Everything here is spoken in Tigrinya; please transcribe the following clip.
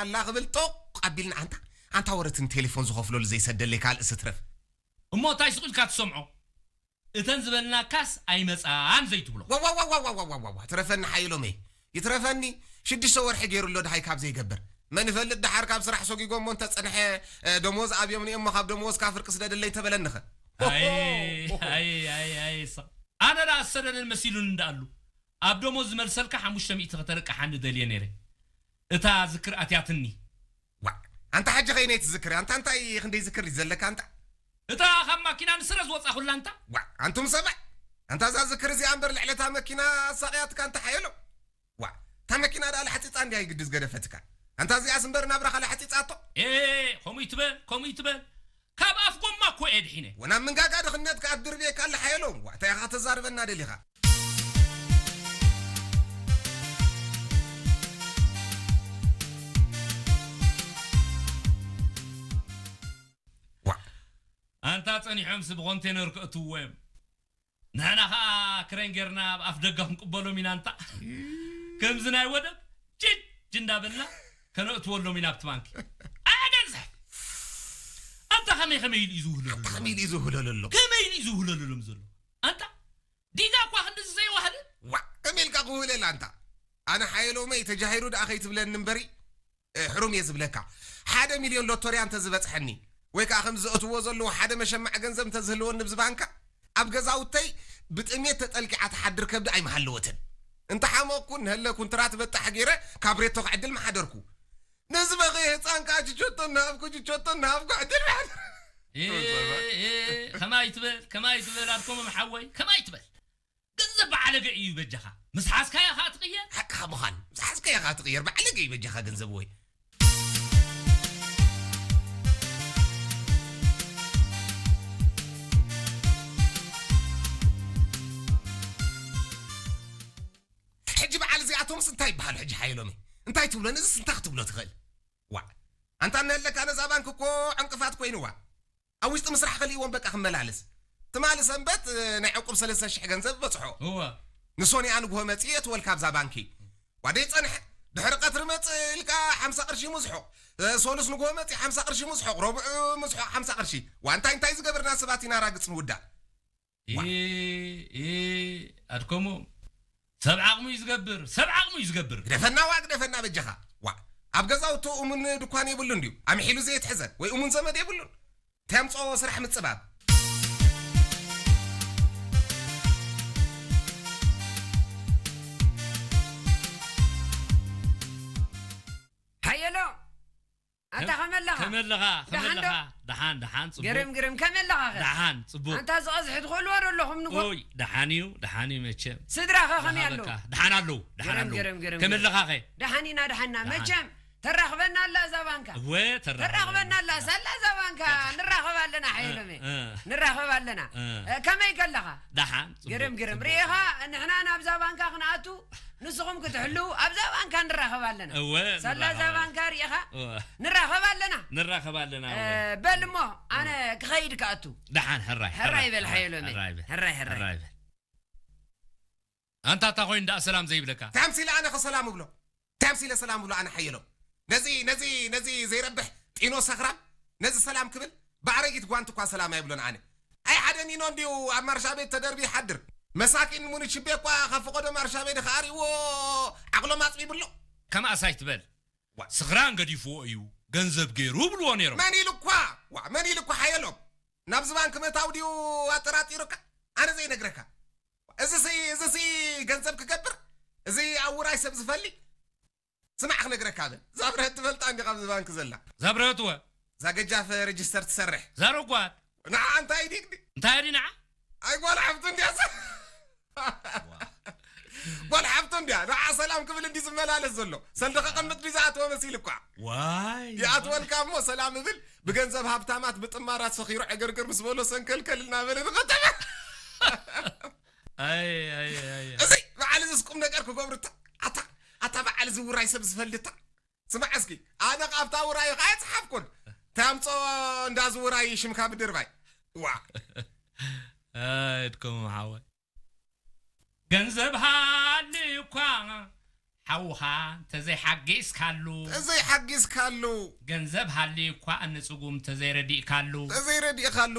ኣላ ክብል ጦቕ ኣቢልና ኣንታ ኣንታ ወረትን ቴሌፎን ዝኸፍለሉ ዘይሰደለይ ካልእ ስትረፍ። እሞ እንታይ ስቕ ኢልካ ትሰምዖ? እተን ዝበልናካስ ኣይመጻን ዘይትብሎ። ዋዋዋዋዋዋዋዋ ትረፈኒ ሓይሎመይ ይትረፈኒ ሽዱሽተ ወርሒ ገይሩ ኣሎ ድሃይ ካብ ዘይገብር መን ይፈልጥ ድሓር ካብ ስራሕ ሰጊጎ እሞ እንተጸንሐ እ፣ ደሞዝ ኣብዮም እሞ ካብ ደሞዝ ካፍርቂ ስደደለይ ተበለንኸ ኣይ ኣይ ኣይ ኣይ ስቕ ኣነ ዳ ዝሰደደን መሲሉን እንዳኣሉ ኣብ ደሞዝ ዝመልሰልካ ሓሙሽተ ሚእቲ ከተርቅሓኒ ደልየ ነይረ። እታ ዝክር ኣትያትኒ። ዋ ኣንታ ሓጂ ኸይነይ ትዝክር ኣንታ እንታይ ክንደይ ዝክር እዩ ዘለካ ኣንታ እታ ካብ ማኪና ንስረ ዝወፃ ኩላ እንታ። ዋ ኣንቱም ሰብዕ ኣንታ እዛ ዝክር እዚኣ እምበር ልዕለታ መኪና ኣሳቕያትካ እንታ ሓየሎ ዋ እታ መኪና ደኣ ለሓፂፃ እንድያ ይግዲ ዝገደፈትካ ኣንታ እዚኣስ እምበር ናብራኻ ለሓፂፃቶ ኤ ከምኡ ይትበል ከምኡ ይትበል ካብ ኣፍ ጎማ እኮ እየ ድሒነ። ወናብ ምንጋጋ ድኽነትካ ኣድርብየካ ኣለ ሓየሎም ዋ እንታይ ኢኻ ተዛርበና ደሊኻ ኣንታ ጸኒሖምሲ ብኮንቴነር ከእትውዎ እዮም። ንሕና ኸኣ ክሬን ጌርና ኣብ ኣፍ ደገ ክንቅበሎም ኢና እንታ። ከምዚ ናይ ወደብ ጅጅ እንዳበልና ከነእትወሎም ኢና ኣብቲ ባንኪ። ኣገዝሕ! ኣንታ ከመይ ከመይ ኢሉ እዩ ዝውህለሉ? ከመይ ኢሉ እዩ ዝውህለሉ ኣሎ? ከመይ ኢሉ እዩ ዝውህለሉ ሎም ዘሎ? ኣንታ ዲጋ እኳ ክንድዚ ዘይዋህለ? ዋዕ! ከመይ ኢልካ ክውህለል ኣንታ? ኣነ ሓየሎመይ ተጃሂሩ ደኣ ከይትብለኒ እምበሪ ሕሩም እየ ዝብለካ ሓደ ሚልዮን ሎቶርያ እንተዝበፅሐኒ ወይ ከዓ ከም ዘእትዎ ዘለዎ ሓደ መሸማዕ ገንዘብ እንተዝህልወኒ ብዚ ባንካ ኣብ ገዛውተይ ብጥሜት ተጠልቂዓ ትሓድር ከብዲ ኣይምሃለወትን እንተሓመቕኩ እንሀለኩ እንትራት በጣሕ ገይረ ካብ ሬቶ ክዕድል ምሓደርኩ ነዚ በኸየ ህፃን ከዓ ችቾቶ እናሃብኩ ችቾቶ እናሃብኩ ዕድል ምሓደር ከማይ ትበል ከማይ ትበል ኣድኮሞም ሓወይ ከማይ ትበል ገንዘብ ብዓለገ እዩ በጃኻ። ምስ ሓዝካዮ ኸኣ ትቕየር። ሓቅኻ ምዃን። ምስ ሓዝካዮ ኸኣ ትቕየር። ብዓለገ እዩ በጃኻ ገንዘብ ወይ። ሕጂ በዓል እዚኣቶምስ እንታይ ይበሃሉ ሕጂ ሓየሎመይ? እንታይ ትብሎ? ነዚስ እንታይ ክትብሎ ትኽእል? ዋዕ። ኣንታ እነሀለካ ነዛ ባንክ እኮ ዕንቅፋት ኮይንዋ። ኣብ ውሽጢ ምስራሕ ከሊእዎም በቃ ክመላለስ ትማሊ ሰንበት ናይ ዕቁብ ሰለስተ ሽሕ ገንዘብ በፅሖ እወ ንሶኒኣ ንግሆ መፅእ የትወልካ ኣብዛ ባንኪ ዋደይ ፀንሐ ድሕሪ ቀትሪ መፅእ ኢልካ ሓምሳ ቅርሺ ሙዝሖ ሰሉስ ንግሆ መፅእ ሓምሳ ቅርሺ ሙዝሖ ረብዑ ሙዝሖ ሓምሳ ቅርሺ ዋንታይ እንታይ ዝገብርና ሰባት ኢና ራግፅ ንውዳእ ኣድከሞ ሰብ ዓቕሙ እዩ ዝገብር ሰብ ዓቕሙ እዩ ዝገብር ግደፈና ዋ ግደፈና በጃኻ ዋ ኣብ ገዛውቶ እሙን ድኳን የብሉን ድዩ ኣምሒሉ ዘየትሕዘ ወይ እሙን ዘመድ የብሉን ተምፅኦ ስራሕ ምፅባብ ሓየሎ ኣታ ከመለኻ ከመለኻ ከመለኻ ደሓን ደሓን ጽቡቅ ግርም ግርም ከመለኻ ደሓን ጽቡቅ ኣንታ ዝቐዝሕ ትኽእልዎ ዶ ኣለኹም ንጎ ኦይ ደሓን እዩ ደሓን እዩ መቸም ስድራኸ ከመይ ኣለዉ ደሓን ኣለዉ ደሓን ኣለዉ ከመለኻ ኸ ደሓን ኢና ደሓንና መቸም ተራኽበና ኣላ እዛ ባንካ እወ ተራኽበና ኣላ ሳላ እዛ ባንካ ንራኸብ ኣለና ሓይሎሜ ንራኸብ ኣለና ከመይ ከለኻ ደሓን ግርም ግርም ርኢኻ ንሕና ናብዛ ባንካ ክንኣቱ ንስኹም ክትሕልዉ ኣብዛ ባንካ ንራኸብ ኣለና እወ ሳላ እዛ ንራኸብ ኣለና። ባንካ ርኢኻ እወ ንራኸብ ኣለና ንራኸብ ኣለና እወ በል እሞ ኣነ ክኸይድ ክኣቱ ደሓን ሕራይ ሕራይ በል ሓየሎመይ ሕራይ በል ሕራይ ሕራይ ሕራይ በል ኣንታ እታ ኮይኑ ደኣ ሰላም ዘይብለካ እንታይ ኣምሲለ ኣነ ኸሰላም እብሎ እንታይ ኣምሲለ ሰላም እብሎ ኣነ ሓየሎም ነዚ ነዚ ነዚ ዘይረብሕ ጢኖ ሰኽራም ነዚ ሰላም ክብል ብኣረጊት ጓንቲ እኳ ሰላም ኣይብሎን ኣነ ኣይ ሓደ ኒኖ እንድዩ ኣብ ማርሻ ቤት ተደርቢ ይሓድር መሳኪን ሙኒችቤ እኳ ካብ ፈቐዶ ማርሻ ቤት ኸኣሪዎ ዓቕሎም ኣፅቢብሎ ከማእስ ኣይትበል ዋ። ስኽራን ገዲፍዎ እዩ ገንዘብ ገይሩ ብልዎ ነይሮም መን ኢሉ እኳ ዋ መን ኢሉ እኳ ሓየሎም ናብዚ ባንክ ምእታው ድዩ ኣጠራጢሩካ ኣነ ዘይነግረካ እዚሲ እዚሲ ገንዘብ ክገብር እዚ ኣብ ውራይ ሰብ ዝፈሊ ስማዕ ክነግረካ በል እዛ ብርሀት ትፈልጣ እንዲ ካብዚ ባንክ ዘላ እዛ ብርሀት ወ እዛ ገጃፍ ሬጅስተር ትሰርሕ እዛ ረጓድ ንዓ እንታይ ዲግዲ እንታይ ዲ ንዓ ኣይ ጓል ሓፍቱ እንዲያ ጓል ሓፍቱ እንዲያ ንዓ ሰላም ክብል እንዲ ዝመላለስ ዘሎ ሰልዲ ከቐምጥ ዲ ዝኣተወ መሲል እኳ ዋይ ይኣትወልካ እሞ ሰላም እብል ብገንዘብ ሃብታማት ብጥማራት ሰኺሩ ዕግርግር ምስ በሎ ሰንከልከል እናበለ ንኸተማ እዚ በዓል እዚስ ቁም ነገር ክገብሩ ኣታ ኣታ በዓል እዚ ውራይ ሰብ ዝፈልድታ ስማዕ እስኪ ኣነ ካብታ ውራይ ኸዓ ኣይፀሓፍኩን ታምፆ እንዳ ዝውራይ ሽምካ ምድርባይ ዋ እድከሙ ሓወይ ገንዘብ ሃሊ እኳ ሓውኻ ተዘይሓጊዝካሉ፣ ተዘይሓጊዝካሉ ገንዘብ ሃልዩ እኳ ንጽጉም ተዘይረዲእካሉ፣ ተዘይረዲእካሉ